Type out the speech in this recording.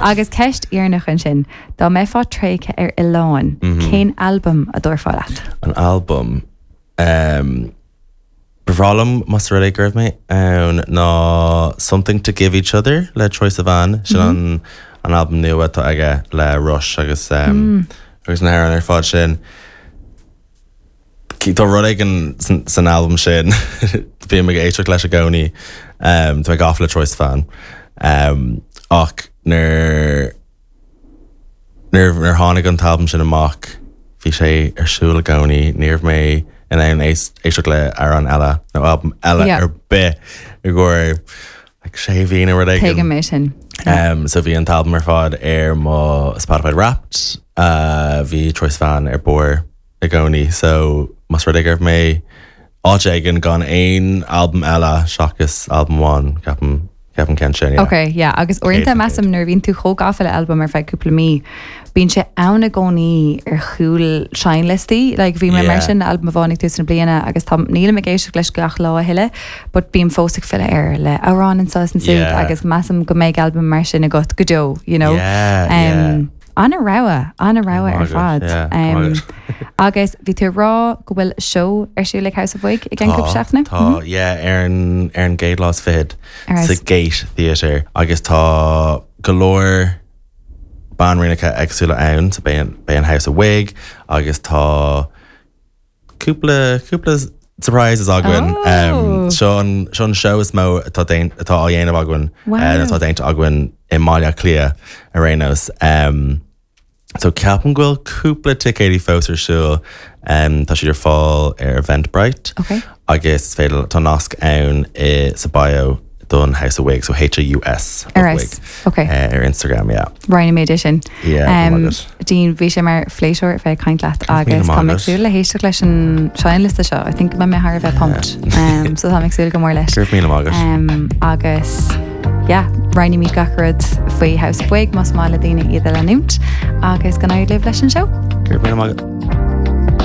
Agus ceist dheireanach ansin, dá mbeifeá tréigthe ar oileán, cén albam a dtabharfá leat? An albam? Ba bhreá liom más rud é go raibh mé ann ná Something to Give Each Other le Troye Sivan, sin an an albam nua atá aige le Rush agus agus na hamhráin ar fad sin. Tá rud éigin san albam sin, bím ag éisteacht leis i gcónaí, tá mé gafa le Troye Sivan. Ach nuair nuair tháinig an t-albam sin amach, bhí sé ar siúl i gcónaí, ní raibh mé in ann éisteacht le amhrán eile nó albam eile ar bith i gcomhair like sé mhí nó rud éigin. Tuigim é sin. So bhí an t-albam ar fad ar mo Spotify Wrapped, bhí Troye Sivan ar barr. i gcónaí so más rud é go raibh mé áit éigin gan aon albam eile seachas albam amháin ceapaim ceapaim ceann sin yeah. Ok yeah agus uaireanta measaim nuair a bhíonn tú chomh gafa le albam ar feadh cúpla mí bíonn sé ann i gcónaí ar chúl seinnliostaí like bhí mé mar sin le albam amháin ag tús na bliana agus tá nílim ag éisteacht leis gach lá a thuilleadh but bím fós ag filleadh air le amhrán anseo is ansiúd Yeah. agus measaim go mbeidh albam mar sin agat go deo you know Yeah, yeah. Um, An-rogha, an-rogha ar fad. Agus bhí tú ag rá go bhfuil seó ar siúl ag House of Wig i gceann cúpla seachtaine? Tá, yeah, ar an, ar an gcéad lá is fichead sa Gate Theatre agus tá go leor banríonacha éagsúla ann, so beidh an, beidh an House of Wig agus tá cúpla, cúpla surprises againn. Oh! Seo an, seo an seó is mó atá déan, atá á dhéanamh againn, Wow. atá déanta againn i mBaile Átha Cliath ar aon nós. So ceapaim go bhfuil cúpla ticéidí fós ar siúl. Tá siad ar fáil ar Eventbrite. Okay. Agus is féidir, tá nasc ann i, sa bio don House of Wig, so H-A-U-S of Ar Wig. S, okay. Ar Instagram, yeah. Roinnfimid é sin. Yeah, go maith agat. Dean, bhí sé mar phléisiúr bheith ag caint leat agus tá mé ag súil le héisteacht leis an seinnliosta seo. I think go mbeidh mé thar a bheith pumped. Um, so tá mé ag súil go mór leis. Go raibh míle maith agat. Um, agus yeah, roinnfimid gach rud faoi House of Wig más maith le daoine iad a leanúint agus go n-éirí libh leis an seó. Go raibh míle maith agat.